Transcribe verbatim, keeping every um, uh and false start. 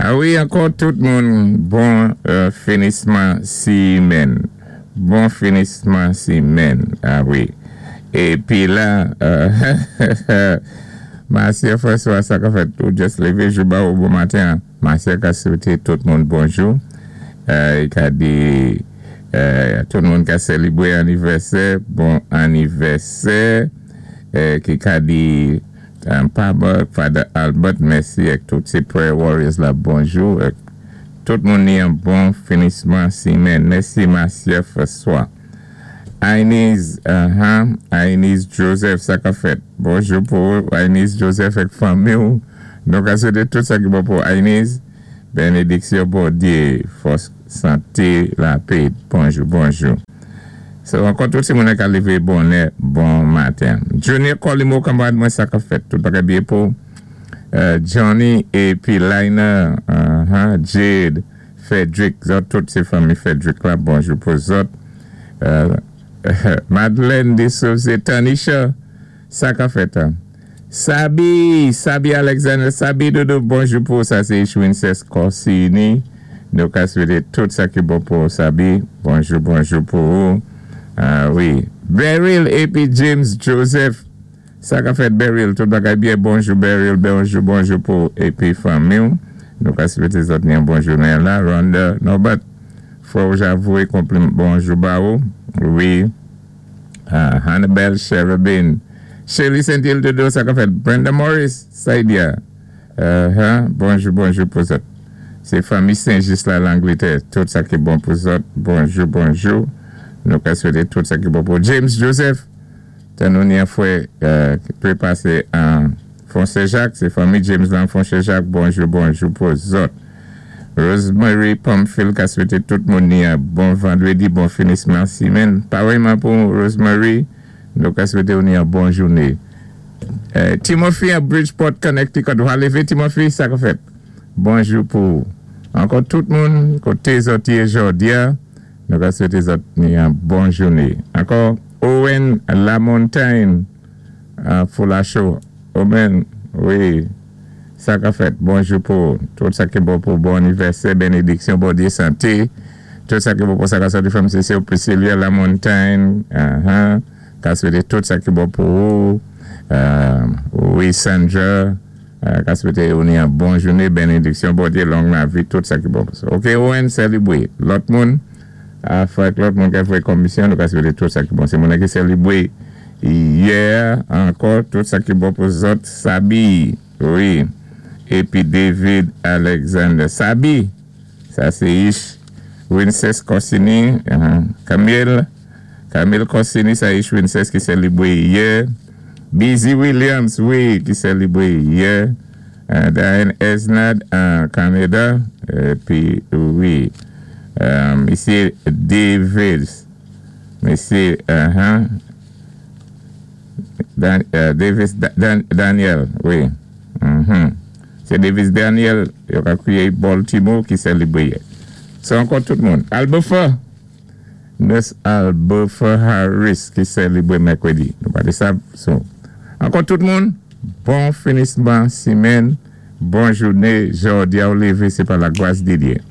A wi, ankò tout moun, bon euh, finisman simenn. Bon finisman simenn. A wi. Épi la, euh, Marcia François, sa ka fèt, ou just lévé jou ba ou bon maten. Marcia ka swété tout moun bonjou. Euh, i ka di euh, tout moun ka sélébwé anivèsè, bon anivèsè. Euh, ki ka di um, Papa, Father Albert, mèsi ak tout sé prayer warriors la, bonjou. Ak tout moun ni yon bon finisman simenn. Mèsi Marcia François. Ainiz, uh-huh, Ainiz Joseph, sa ka fèt. Bonjou pou Ainiz Joseph ak fanmi ou. Nou ka swété tout sa ki bon pou Ainiz. Bénédiksyon Bondyé, fòs, santé, lapè. Bonjou, bonjou. So, ankò tout sé moun ka lévé bonè, bon maten. Junior Colimo, kanmarad mwen sa ka fèt. Tout bagay byen pou euh, Johnny épi Lina, uh-huh, Jade, Frederick, zòt tout sé fanmi Frederick la, bonjou pou zòt. Euh, Madeleine de Souza, Tanisha, sa ka fèt. Hein? Sabi, Sabi Alexander, Sabi Dodo, bonjou pou sa, sé Ishwincess Corsini. Nou ka swété tout sa ki bon pou Sabi. Bonjou, bonjou pou ou. Ah wi. Beryl épi James Joseph. Sa ka fèt Beryl, tout bagay byen. Bonjou Beryl, bonjou, bonjou pou épi fanmi. Nou ka swété zòt ni yon bon jounen la. Rhonda Norbert, fò javouwé konpliman, bonjou ba ou. Wi. Uh, Hannibal Cherubin. Shirley Saint-Hill Dodo, sa ka fèt. Brenda Morris, Saidia. Uh-huh. Bonjou, bonjou pou zòt. Sé fanmi Saint-Just la, Langlétè. Tout sa ki bon pou zòt. Bonjou, bonjou. Nou ka swété tout sa ki bon pou James Joseph. Tan nou ni yon fwè euh, ki pé pasé an Fonse Jacques. Sé fanmi James lan Fonse Jacques. Bonjou, bonjou pou zòt. Rosemary Pamphile ka swété tout moun ni yon bon vandrédi, bon finisman simenn. Parèyman pou Rosemary, nou ka swété ou ni yon bon jouné. Euh, Timothy à Bridgeport, Connecticut. Ou lévé Timothy, sa ka fèt. Bonjou pou ankò tout moun, koté zòt yé jòdi a, nou ka swété zòt ni yon bon jouné. Ankò Owen Lamontagne à Foulacho. Owen, wi, sa ka fèt. Bonjou pou tout sa ki bon pou bon anivèsè, bénédiksyon, Bondyé santé. Tout sa ki bon pou sa ka sòti fanm sé Priscilla Lamontagne. Uh-huh. Ka swété tout sa ki bon pou ou. Euh, wi, Sandra. Euh, ka swété ou ni yon bon jouné, bénédiksyon, Bondyé, long lavi, tout sa ki bon pou sa. Ok, Owen, sélébwé. Lòt moun, a fèk lòt moun ki fè komisyon, nou ka swété tout sa ki bon. Sé moun ki sélébwé yè, ankò, tout sa ki bon pou zòt, Sabi, wi, épi David Alexander. Sabi, sa sé Ish, Winces Corsini, uh-huh. Camille, Camille Corsini, sa Ish Winces ki sélébwé yè. Busy Williams, wi, ki sélébwé yè. Uh, Diane Esnad, an Kanada. Épi, wi, um, misyé David, misyé, uh-huh, Dan, uh, Davis Dan, Daniel, wi. Mm-hmm. Sé Davis Daniel, yo ka kwiyé Baltimore ki sélébwé yè. Sé ankò tout moun. Albufa, Nurse Albufa Harris ki sélébwé mèkwédi. Nou pa di sa, so. Ankò tout moun, bon finisman simenn, bon jouné, jòdi a ou lévé, sé pa la gwas di Dyé.